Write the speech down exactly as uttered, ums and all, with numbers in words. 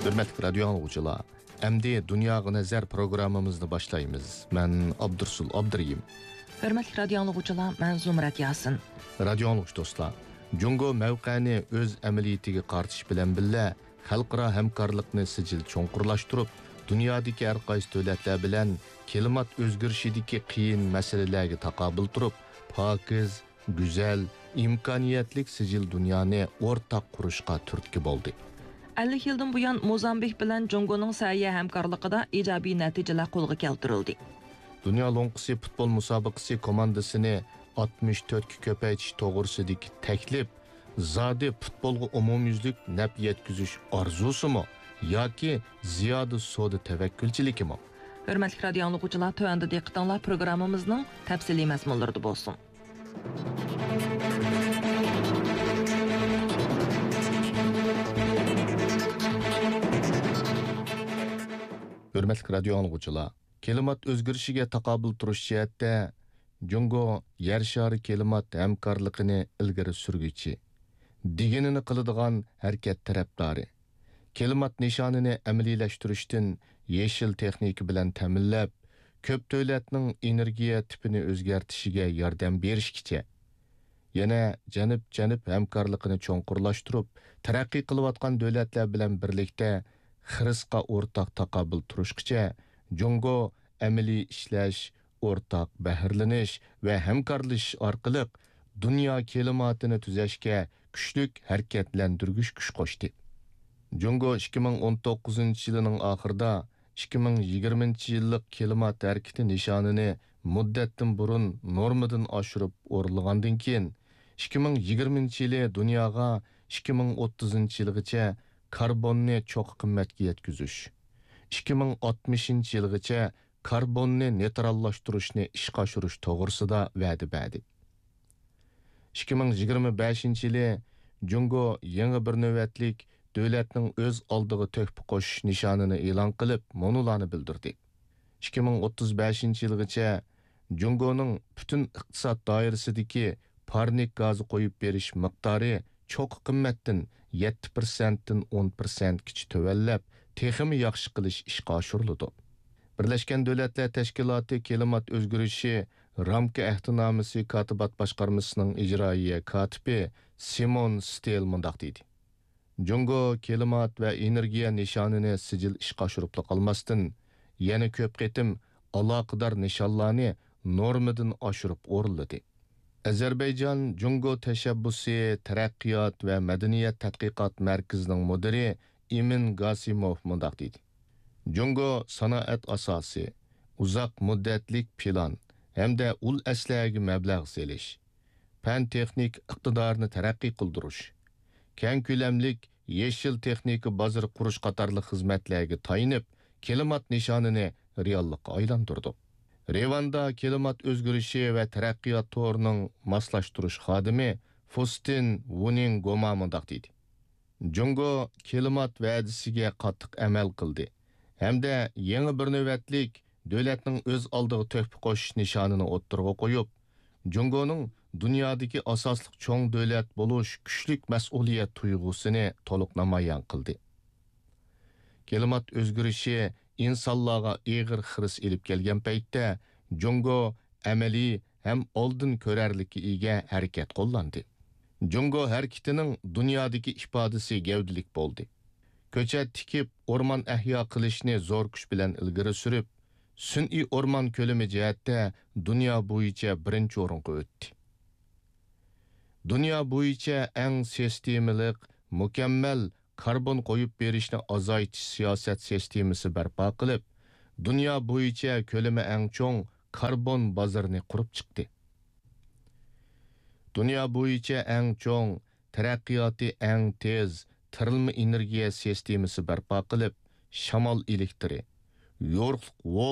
ھۆرمەتلىك رادىيو ئاڭلىغۇچىلار، ئەمدى دۇنياغا نەزەر پروگراممىمىزنى باشلايمىز. مەن ئابدۇرسۇل ئابدۇرېھىم. ھۆرمەتلىك رادىيو ئاڭلىغۇچىلار، مەن زۇمرەت ياسىن. رادىيو ئاڭلىغۇچى دوستلار، جۇڭگو مەۋقەنى ئۆز ئەمەلىيىتىگە قارىتىش بىلەن بىللە، خەلقئارا ھەمكارلىقنى سىجىل چوڭقۇرلاشتۇرۇپ، دۇنيادىكى ھەر قايسى دۆلەتلەر بىلەن كىلىمات ئۆزگىرىشىدىكى قىيىن مەسىلىلەرگە تاقابىل تۇرۇپ، پاكىز، گۈزەل، ئىمكانىيەتلىك سىجىل دۇنيانى ئورتاق قۇرۇشقا تۈرتكە بولدى. ئەللىك يىلدىن بۇيان موزامبىك بىلەن جۇڭگونىڭ سەھىيە ھەمكارلىقىدا ئىجابىي نەتىجىلەر قولغا كەلتۈرۈلدى. دۇنيا لوڭقىسى پۇتبول مۇسابىقىسى كوماندىسىنى ئاتمىش تۆتكە كۆپەيتىش توغرىسىدىكى تەكلىپ زادى پۇتبولغا ئومۇميۈزلۈك نەپ يەتكۈزۈش ئارزۇسىمۇ ياكى زىيادە سودا تەۋەككۈلچىلىكىمۇ؟ ھۆرمەتلىك رادىيو ئاڭلىغۇچىلار، تۆۋەندە دىققىتىڭلار پروگراممىمىزنىڭ تەپسىلىي مەزمۇنلىرىدا بولسۇن. ھۆرمەتلىك رادىيو ئاڭلىغۇچىلار، كىلىمات ئۆزگىرىشىگە تاقابىل تۇرۇش جەھەتتە جۇڭگو يەر شارى كىلىمات ھەمكارلىقىنى ئىلگىرى سۈرگۈچى، دېگىنىنى قىلىدىغان ھەرىكەت تەرەپدارى. كىلىمات نىشانىنى ئەمەلىيلەشتۈرۈشتىن يېشىل تېخنىكا بىلەن تەمىنلەپ، كۆپ دۆلەتنىڭ ئېنېرگىيە تىپىنى ئۆزگەرتىشىگە ياردەم بېرىشكىچە، يەنە جەنۇب-جەنۇب ھەمكارلىقىنى چوڭقۇرلاشتۇرۇپ، تەرەققىي قىلىۋاتقان دۆلەتلەر بىلەن بىرلىكتە خىرىسقا ئورتاق تاقابىل تۇرۇشقىچە، جۇڭگو ئەمەلىي ئىشلەش، ئورتاق بەھرىلىنىش ۋە ھەمكارلىشىش ئارقىلىق دۇنيا كىلىماتىنى تۈزەشكە كۈچلۈك ھەرىكەتلەندۈرگۈچ كۈچ قوشتى. جۇڭگو ئىككى مىڭ ئون توققۇزىنچى يىلىنىڭ ئاخىرىدا ئىككى مىڭ يىگىرمىنچى يىللىق كىلىمات ھەرىكىتى نىشانىنى مۇددەتتىن بۇرۇن نورمىدىن ئاشۇرۇپ ئورۇنلىغاندىن كېيىن، ئىككى مىڭ يىگىرمىنچى يىلى دۇنياغا ئىككى مىڭ ئوتتۇزىنچى يىلغىچە كاربوننى چوققا قىممەتكە يەتكۈزۈش، ئىككى مىڭ ئاتمىشىنچى يىلغىچە كاربوننى نېيتراللاشتۇرۇشنى ئىشقا ئاشۇرۇش توغرىسىدا ۋەدە بەردى. ئىككى مىڭ يىگىرمە بەشىنچى يىلى جۇڭگو يېڭى بىر نۆۋەتلىك دۆلەتنىڭ ئۆز ئالدىغا تۆھپە قوشۇش نىشانىنى ئېلان قىلىپ، مۇنۇلارنى بىلدۈردى. ئىككى مىڭ ئوتتۇز بەشىنچى يىلغىچە جۇڭگونىڭ پۈتۈن ئىقتىساد دائىرىسىدىكى پارنىك گازى قويۇپ بېرىش مىقدارى چوققا قىممەتتىن يەتتە پىرسەنتتىن ئون پىرسەنتكىچە تۆۋەنلەپ، تېخىمۇ ياخشى قىلىش ئىشقا ئاشۇرۇلىدۇ. بىرلەشكەن دۆلەتلەر تەشكىلاتى كىلىمات ئۆزگىرىشى رامكا ئەھدىنامىسى كاتىبات باشقارمىسىنىڭ ئىجرائىيە كاتىپى سىمون ستېل مۇنداق دېدى: جۇڭگو كىلىمات ۋە ئېنېرگىيە نىشانىنى سىجىل ئىشقا ئاشۇرۇپلا قالماستىن، يەنە كۆپ قېتىم ئالاقىدار نىشانلارنى نورمىدىن ئاشۇرۇپ ئورۇنلىدى. ئەزەربەيجان جۇڭگو تەشەببۇسى تەرەققىيات ۋە مەدەنىيەت تەتقىقات مەركىزىنىڭ مۇدىرى ئىمىن گاسىموف مۇنداق دېدى: جۇڭگو سانائەت ئاساسى، ئۇزاق مۇددەتلىك پىلان ھەمدە ئۇل ئەسلىھەگە مەبلەغ سېلىش، پەن-تېخنىكا ئىقتىدارىنى تەرەققىي قىلدۇرۇش، كەڭ كۆلەملىك يېشىل تېخنىكا بازىرى قۇرۇش قاتارلىق خىزمەتلەرگە تايىنىپ، كىلىمات نىشانىنى رېئاللىققا ئايلاندۇردۇق. رىۋاندا كىلىمات ئۆزگىرىشى ۋە تەرەققىيات تورىنىڭ ماسلاشتۇرۇش خادىمى فۇستىن ۋۇنىڭ گوما مۇنداق دېدى: جۇڭگو كىلىمات ۋەدىسىگە قاتتىق ئەمەل قىلدى ھەمدە يېڭى بىر نۆۋەتلىك دۆلەتنىڭ ئۆز ئالدىغا تۆھپە قوشۇش نىشانىنى ئوتتۇرىغا قويۇپ، جۇڭگونىڭ دۇنيادىكى ئاساسلىق چوڭ دۆلەت بولۇش كۈچلۈك مەسئۇلىيەت تۇيغۇسىنى تولۇق نامايان قىلدى. كىلىمات ئۆزگىرىشى ئىنسانلارغا ئېغىر خىرىس ئېلىپ كەلگەن پەيتتە، جۇڭگو ئەمەلىي ھەم ئالدىن كۆرەرلىككە ئىگە ھەرىكەت قوللاندى. جۇڭگو ھەرىكىتىنىڭ دۇنيادىكى ئىپادىسى گەۋدىلىك بولدى. كۆچەت تىكىپ، ئورمان ئەھيا قىلىشنى زور كۈچ بىلەن ئىلگىرى سۈرۈپ، سۈنئىي ئورمان كۆلىمى جەھەتتە دۇنيا بويىچە بىرىنچى ئورۇنغا ئۆتتى. دۇنيا بويىچە ئەڭ سىستېمىلىق، مۇكەممەل كاربون قويۇپ بېرىشنى ئازايتىش سىياسەت سىستېمىسى بەرپا قىلىپ، دۇنيا بويىچە كۆلىمى ئەڭ چوڭ كاربون بازىرىنى قۇرۇپ چىقتى. دۇنيا بويىچە ئەڭ چوڭ، تەرەققىياتى ئەڭ تېز تېرىلما ئېنېرگىيە سىستېمىسى بەرپا قىلىپ، شامال ئېلېكتىرى، يورۇقلۇق ۋول